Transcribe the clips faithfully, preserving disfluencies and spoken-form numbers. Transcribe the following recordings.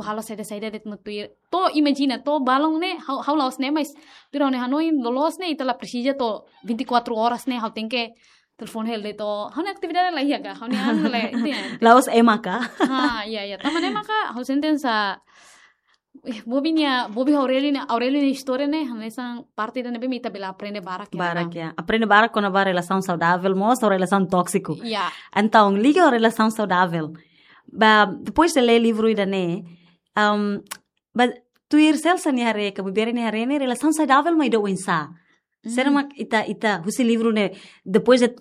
halo saida-saida de'it no tuir. To'o imajina, to'o balun ne'e, ha'u, ha'u la'ós ne'e, mas tuir ha'u-nia hanoin loloos ne'e, ita la presiza to'o vinte e quatro horas ne'e, ha'u tenke telefone hela de'it to'o. Ha'u-nia atividade la iha ka, ha'u-nia anu la, itu ya. La'ós ema ka? Ha, ya, ya. Tanba ne'e maka, ha'u sente hanesan, eh, Bobi nia, Bobi Aurelio nia, Aurelio nia istória ne'e, hanesan parte ida ne'ebé mak ita bele aprende barak ya. Barak ya. Aprende barak kona-ba relasaun saudável mós, ou relasaun tóksiku. Ya. Entaun, liga ho relasaun saudável. Ba, depois de lee livru ida-ne'e, um, ba, tuir Celsa nia haree, ka Bibere nia haree ne'e, relasaun saudável mak ida oinsá. Sira mak ita, ita, husi livru ne'e, depois de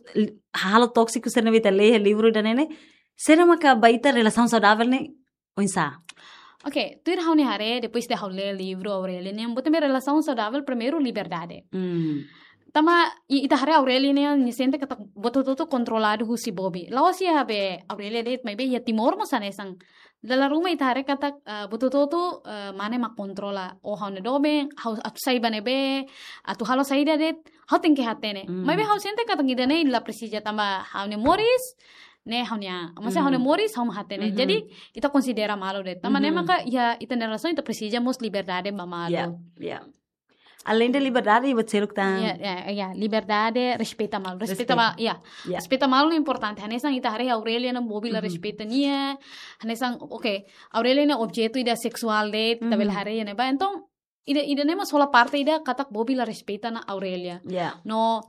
halo tóksiku, sira ne'ebé ita lee livru ida-ne'e ne'e, sira maka ba ita relasaun saudável ne'e, oinsá. Ok, tuir ha'u-nia haree, depois de ha'u lee livru Aurelio ne'e, buat ne'ebé relasaun saudável, primeiru liberdade. Hmm. Tanba, i-, ita haree Aurelio ne'e, nia sente katak buat hotu-hotu kontroladu husi Bobi. La'ós iha be Aurelio de'it, maibé iha Timor mós hanesan. Dala ruma ita haree katak, ah, buat hotu-hotu, ah, mane mak kontrola. Ou ha'u-nia doben, ha'u atu sai ba ne'ebé, atu halo saida de'it, ha'u tenke hatene. Mm. Maibé ha'u sente katak ida-ne'e la presiza tanba ha'u-nia moris, ne'e ha'u-nia, maksudnya ha'u-nia moris, ha'u mak hatene. Mhm. Jadi, ita konsidera malu de'it. Tanba ne'e Mhm. maka iha ita-nia relasaun ita presiza mós liberdade ba malu. Ya, ya. Além de liberdade, buat seluk tan. Ya, ya, ya, liberdade, respeita malu. Respeita Respeita. malu, ya. Ya. Respeita malu importante. Hanesan ita haree Aurelio ne'e Bobi la Mhm. respeita nia. Hanesan, ok, Aurelio ne'e objetu ida seksuál de'it, ita bele Mhm. haree ne'ebá. Entaun, ida, ida-ne'e mós hola parte ida katak Bobi la respeita ona Aurelio. Ya. No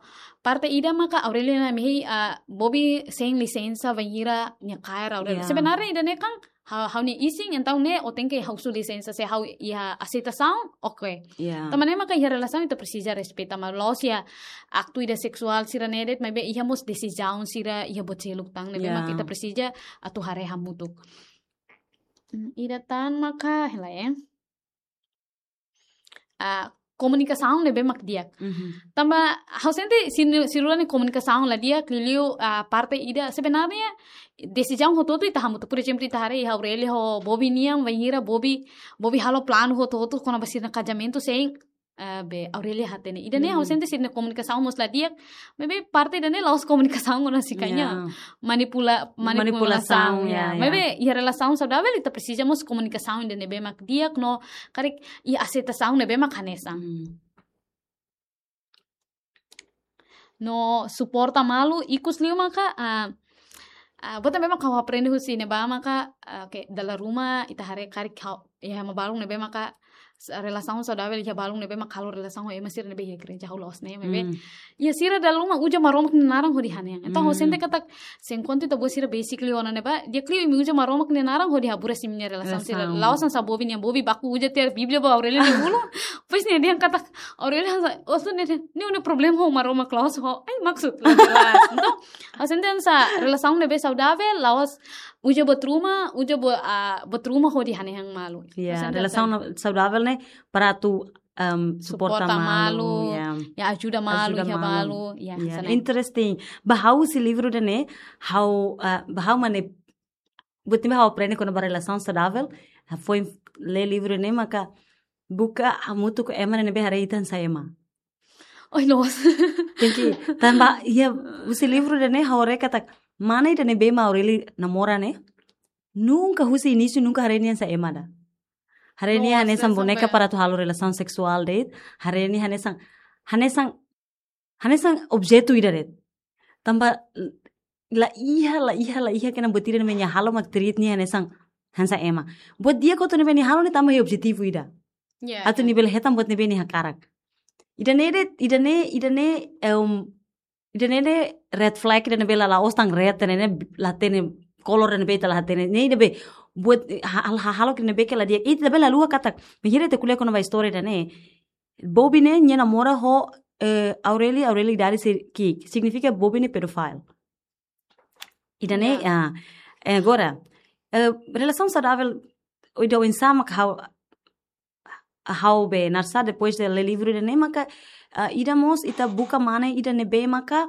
parte ida maka Aurelio ne'e mehi, ah, Bobi sein lisensa bainhira nia kaer Aurelio. Ya. Sebenarnya ida-ne'e kan ha'u, ha'u-nia isin, entaun ne'e ó tenke husu lisensa se ha'u iha aseitasaun, ok. Ya. Tanba ne'e maka iha relasaun ita presiza respeita malu, la'ós iha aktu ida seksuál sira-ne'e de'it, maibé iha mós desizaun sira, iha buat seluk tan ne'ebé Ya. maka ita presiza atu haree hamutuk. Hmm, ida tan maka, hela ya. Ah, komunikasaun ne'ebé mak di'ak. Mhm. Tanba, ha'u sente sira, sira-nia komunikasaun la di'ak, liuliu, ah, parte ida, sebenarnya, desizaun hotu-hotu ita hamutuk. Por ezemplu, ita haree iha Aurelio ho Bobi nian, bainhira Bobi, Bobi halo planu hotu-hotu kona-ba sira-nia kazamentu sein, ah, be, Aurelio hatene. Ida-ne'e ha'u Mhm. sente sira-nia komunikasaun mós la di'ak, maibé parte ida-ne'e la'ós komunikasaun kona-ba sira-nia. Ya. Manipula, Manipulasaun, manipulasaun, ya, ya. Ya. Maibé, iha relasaun saudável, ita presiza mós komunikasaun ida ne'ebé mak di'ak, no, karik, iha aseitasaun ne'ebé mak hanesan. Hmm. No suporta malu, ikus liu maka, ah, ah, buat ne'ebé mak ha'u aprende husi ne'ebá maka, ah, oke, dala ruma ita haree karik ha'u, iha ema balun ne'ebé maka, s-, relasaun saudável iha balun ne'ebé mak halo relasaun ho ema sira ne'ebé iha gereja, ha'u la'ós ne'e, maibé. Hmm. Iha sira dala ruma uza Maromak nia naran hodi hanehan. Entaun, ha'u Hmm. sente katak, se enkuantu ita-boot sira basic liu ona ne'ebá, di'ak liu imi uza Maromak nia naran hodi haburas imi-nia relasaun sira. Relasaun. La'ós hanesan Bobi nian, Bobi baku uza tiha Bíblia ba Aurelio nia ulun. Depois nia dehan katak, Aurelio hanesan, oh, tu nia, nia nia problema ho Maromak la'ós ho. Ai, maksud, la jelas. Entaun, ha'u sente hanesan relasaun ne'ebé saudável, la'ós uza buat ruma, uza buat, ah, buat ruma hodi hanehan malu. Ya, Ha'u sente relasaun hanesan na-, saudável ne'e para atu, em, suporta Suporta malu, malu, ya. Ya, ajuda malu, Ajuda iha malu. malu, ya, Ya, hanesan. interesting. Ba ha'u husi livru ida-ne'e, ha'u, ah, ba ha'u mane, buat ne'ebé ha'u aprende kona-ba relasaun saudável, ah, foin lee livru ne'e maka buka hamutuk ho ema ne'ebé haree ita hanesan ema. Oi, loos. Tenke, tanba, iha, husi livru ida-ne'e ha'u haree katak, mane ida ne'ebé mak Aurelio namora ne'e, nunka husi inísiu, nunka haree nia hanesan ema ida. Haree nia Loos, hanesan hanesan boneka bem. Para atu halo relasaun seksuál de'it, haree nia hanesan, hanesan, hanesan objetu ida de'it. Tanba, la iha, la iha, la iha kena buat ida ne'ebé nia halo mak treat nia hanesan, hanesan ema. Buat di'ak hotu ne'ebé nia halo ne'e tanba iha objetivu ida. Ya, Atu ya. Nia bele hetan buat ne'ebé nia hakarak. Ida-ne'e de'it, ida-ne'e, ida-ne'e, em, ida-ne'e de'it red flag ida ne'ebé la, la'ós tan red, ne'e, ne'e la hatene, kolor ne'ebé ita la hatene. Ne'e ida be, buat, ha-, ha-, hahalok ne'ebé ke la di'ak. Ita be la haluha katak, bainhira ita ko'alia kona-ba istória ida-ne'e. Bobi ne'e, nia namora ho, eh, Aureli, Aureli idade sei ki'ik. Signifika Bobi ne'e pedófilu. Ida-ne'e, Ya. Ah, eh, agora, eh, relasaun saudável, ida oinsá mak ha'u, ha'u be naran sá depois de lee livru ida-ne'e maka, ah, ida mós ita buka mane ida ne'ebé maka,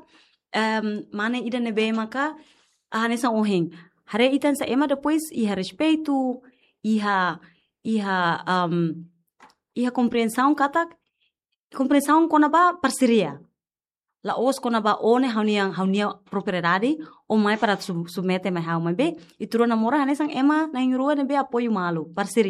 em, mane ida ne'ebé maka, ah, hanesan ohin. Haree ita hanesan ema depois iha respeitu, iha, iha, em, iha kompriensaun katak, kompriensaun kona-ba parseria. La'ós kona-ba ó ne'e ha'u-nia, ha'u-nia propriedade, ó mai para sub-, submete mai ha'u, maibé, ita rua namora hanesan ema na'in-rua ne'ebé apoiu malu, parseria.